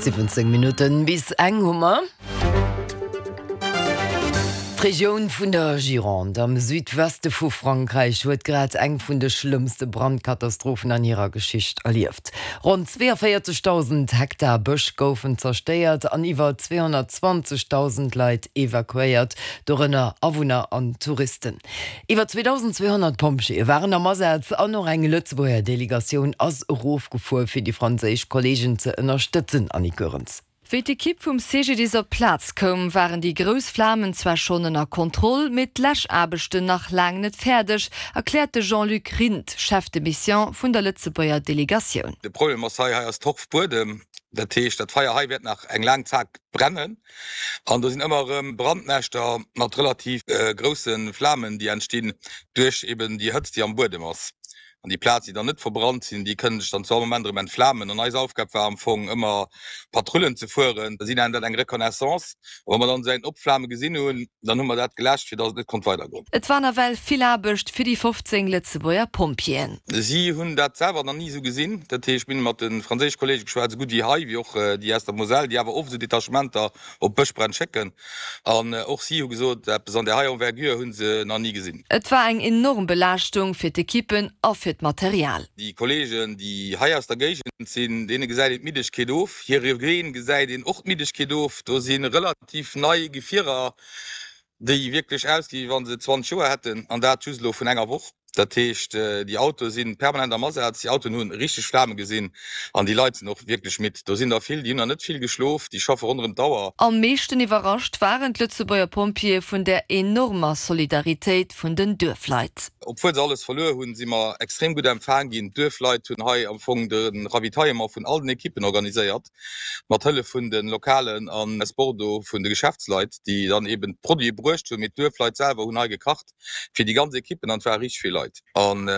17 Minutten bis eng hu mer. D'Regioun vun der Gironde am Südweste vu Frankräich huet grad eng vun de schlëmmste Brandkatastrophen an hirer Geschicht erlieft. Ronn 42.000 Hektar Bësch goufen zerstéiert an iwwer 220.000 Leit evakuéiert, dorënner Awunner an Touristen. Iwwer 2.200 Pompjeeë waren am Asaz an och eng Lëtzebuerger Delegatioun ass erofgefuer, fir déi franséisch Kolleegen ze ënnerstëtzen. Annick Goerens. Wéi d'Ekipp vum CGDIS op d'Plaz koum, waren déi grouss Flamen zwar schonn ënner Kontroll, mee d'Läschaarbechten nach laang net fäerdeg, erkläert de Jean-Luc Rindt, Chef de Mission vun der Lëtzebuerger Delegatioun. De Problem ass hei, hei ass Torfbuedem, dat heescht dat Feier hei wäert nach eng laang Zäit brennen an do sinn ëmmer erëm Brandnäschter mat relativ grousse Flamen, déi entstinn duerch eben déi Hëtzt, déi am Buedem ass. An déi Plaz, déi dann net verbrannt sinn, déi kënnen sech dann zu all Moment erëm entflamen. An eis Aufgab war am Fong ëmmer Patrullen ze fueren. Si nennen dat eng Reconnaissance. A wa mer dann esou eng Opflame gesinn hunn, dann hu mer dat geläscht, fir datt et net konnt weidergoen. Et war nawell vill Aarbecht fir déi 15 Lëtzebuerger Pompjeeën. Si hunn dat selwer nach ni esou gesinn. Dat heescht, mir hunn mat de franséische Kolleege geschwat, esou gutt déi hei wéi och déi aus der Moselle, déi awer oft esou Detachementer op Bëschbränn schécken. An och si hu gesot, eppes an där hei Envergure hu se nach ni gesinn. Et war eng enorm Belaaschtung fir d'Ekippen a fir d'Material. Déi Kolleegen, déi hei aus der Géigend sinn, deene gesäit een d'Middegkeet of. Hire Ween gesäit een och d'Middegkeet of. Do si relativ nei Gefierer, déi wierklech ausgi wéi wa se 20 Joer hätten, an dat just elo vun enger Woch. Dat heescht, déi Autoe si permanent am Asaz, déi Autoen hu richteg Flame gesinn an déi Leit sinn och wierklech midd. Do sinn der vill, déi hunn nach net vill geschlof, déi schaffe ronderëm d'Auer. Am meeschten iwwerrascht waren d'Lëtzebuerger Pompjeeë vun där enormer Solidaritéit vun den Duerfleit. Obwuel se alles verluer hunn, si mer extrem gutt empfaang ginn. D'Duerfleit hunn hei am Fong de Ravitaillement vun all den Ekippen organiséiert, mat Hëllef vun de Lokalen an aus Bordeaux vun de Geschäftsleit, déi dann eben d'Produite bruecht hunn. Mee d'Duerfleit selwer hunn hei gekacht. fir déi ganz Equippen an et ware richteg vill Leit. An.